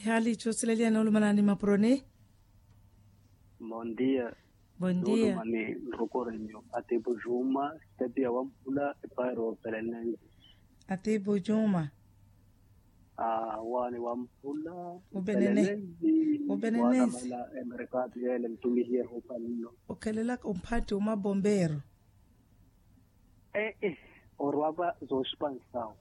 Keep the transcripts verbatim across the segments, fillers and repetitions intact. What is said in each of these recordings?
Ehaali itthu osileliya noolumanani mapuroni. Bondia. Bondia. Noolumani nrukorenyo atiipu juma, sitepiya wamphula epaari opelenenzi. Atiipu juma. Awaani wamphula. Upenenenzi. Upenenenzi. Waatamela emerekaatu yeele ntumihiye hupanno. Okhelelaka omphathi omabombeero. Ee, orwaka zooxipansawo.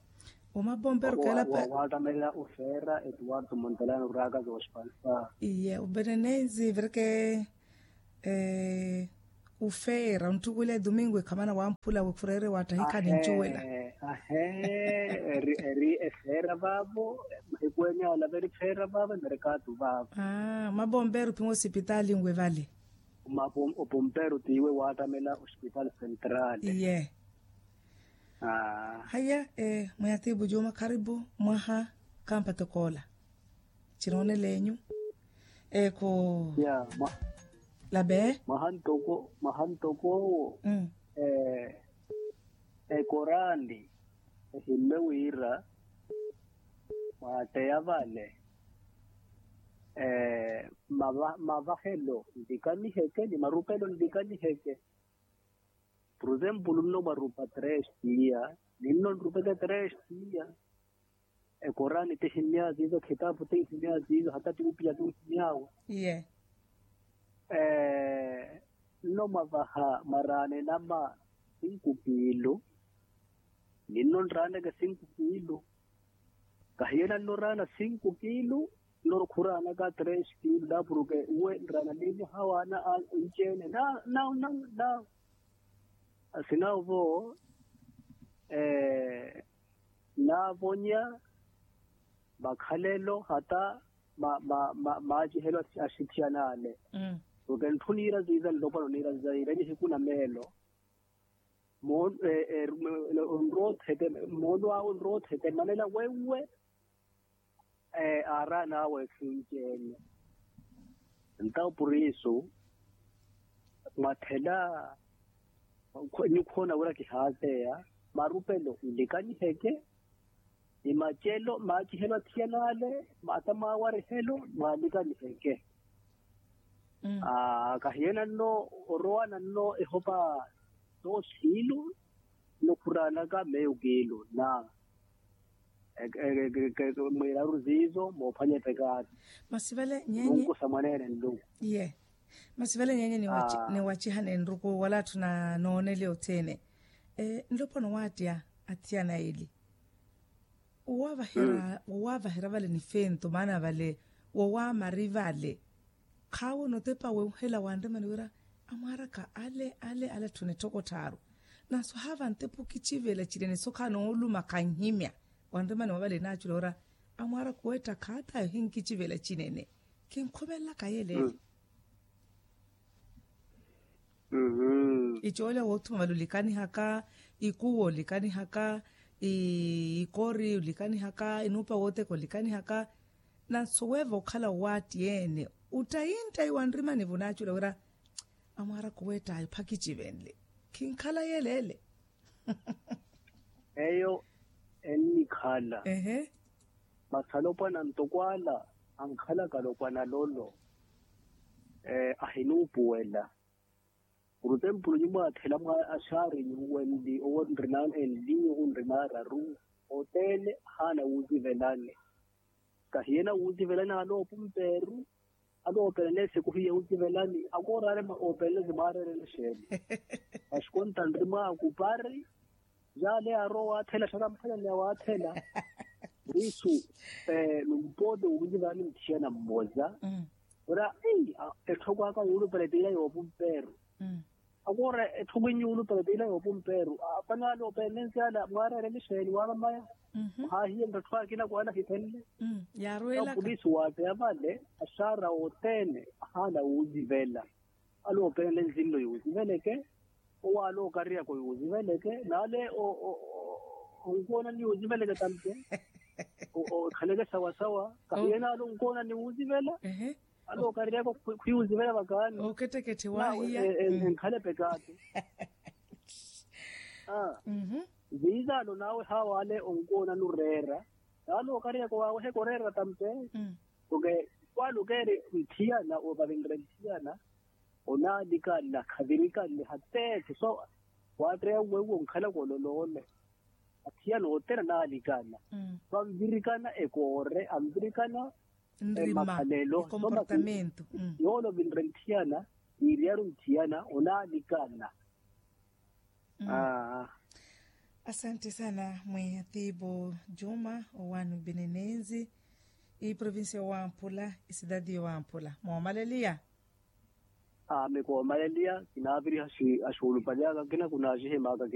Omabombeero keela pe. Waatamela ofeera etuwartu montelano orwaka zooxipansawo. Iye openenenzi vireke. Ofeera ontthukulela etumingu ekhamana wamphula wefurere wattahikhani ncuwela. Ahee. Eri efeera vaavo. Ekwenya olava eri feera vaavo emerekaatu vaavo. Mabombeero ophiwa osipitalinwe vale. Opompeero tiiwe waattamela ospitaali sentraali. Iye. Haya. Mweya tiipu juma kharipu mwaha. Khampatokoola. Cinoonel'enyu. Ekho. Labe. Mwaha ntoko mwaha ntokoowo. Ekoraani ehimme wira mwaatteya vale. Mavahelo nlikaniheke ni marupelo nlikaniheke. Puruzempulu nno mwarupa tres tiya. Ninno nrupeke tres tiya. Ekoraani tihimmya ziizo khitapu tihimmya ziizo hata tiwupiya tihimmyawe. Nno mwavaha mwaraana enama sinku kiilu. Ninno nraaneke sinku kiilu. Kahiyena nno raana sinku kiilu. Nno khuraanaka tres kiilu naapuruke uwe nraana niimwaha waana anci-ene na na na na. Asina ovo naavonya makhalelo hata maacihelo axithiyan'ale. Porke ntthu niira ziiza nlopwana oniira ziiza niira nihiku na meelo. Onrowa othete moonu awe onrowa othete manela wewe. Aaraana awe esinci ene. Entawo purisu mwathela nyukhoona wira kihaateya marupelo nlikaniheke. Ni macelo maacihelo athiyan'ale maata maawarihelo mwaalikaniheke. Kahiyena nno orowana nno ehopa toosi kiilu. Nno khuraanaka meyo kiilu na mwiiraru ziizo moophwanya epekaati. Masi vale nyeenye nunkusa mwaneene nlungu. Iye. Masi vale nyeenye niwachihana enruku wala atthu na nooneli othene. Nlopwana owaattiya athiyana eli. Wowaavahira vale nifento maana vale wowaamari vale. Khaawoona otepa wenhela wanremani wira amwaaraka ale ale ale atthu netthoko tthaaru. Nanso haava ntepa okicivela cinene sokha nooluma khanhimya. Wanremani wavale naacula wira amwaaraka owetta khaatayo hinkicivela cinene. Kinkhomelelaka yeleele. Icoolya woothuma vale olikanihaka. Ikuwa olikanihaka. Ikori olikanihaka inuupa wooteka olikanihaka. Nanso weeva okhala owaatti ene ottayi nttayi wa nrimani-vo naacula wira amwaaraka oweett'aya ophakici venle. Khinkhala yeleele. Eyo ennikhala. Masi alopwana ntoko ala ankhalaka alopwana alolo ahinuupuwela. Purutempulu nyumwaathela mwa axaari nyuwenli owo nrina enli owo nrina araru. Oteene ahaana wuuzivelani. Kahiyena wuuzivelani ale opumpeeru. Ale oopelela esiku hiye wuuzivelani akoor'ale oopelela ezimwaareerela exeeni. Masi konta nri mwaakupari. Yaale yaarowa waathela xaramphalani ya waathela. Purisu numpoote wuuzivelani nthiyana mmoza. Ora etthokwaka yuulupela etiila yoopumpeeru. Akoora etthoko inyuulupela etiila yoopumpeeru. Apale ale openensi ale mwaarereli xeeni waamamaya. Haahiye nttatthu akina kwaana ahithenle. Yaaruwelaka pulisi waateya vale. Axaara othene ahaana wuuzivela. Ale openensi nlo yuuziveleke. Owo ale okariyaka oyuuziveleke n'ale onkoona niyuuziveleke tampe. Ekhaleke sawasawa kahiye n'ale onkoona niwuuzivela. Ale okareryaka khwiyuzivela vakaani. Okettekette waahiya. Enkhale pekaati. Viizaano nawe haawale onkoona nureera. Nawe ale okareryaka waaweheka oreera tampe. Porque kwaalukeeri nthiyana oovavinre nthiyana, onaalikanna khavirikanne hateethe so, waatteya uwe uwo nkhalaka ololoole. Athiyana othene anaalikanna, vanvirikana ekoore anvirikana, emakhalelo so masi, yoole ovinre nthiyana, yiiriyaru nthiyana onaalikanna. Asanti sana mwi atiipu juma, owaani obenenenzi, iprovincia owamphula, isidadi owamphula moomaleliya. Aame koomaleliya kinaaviriha axuulupali aka akina kunaxihimaka.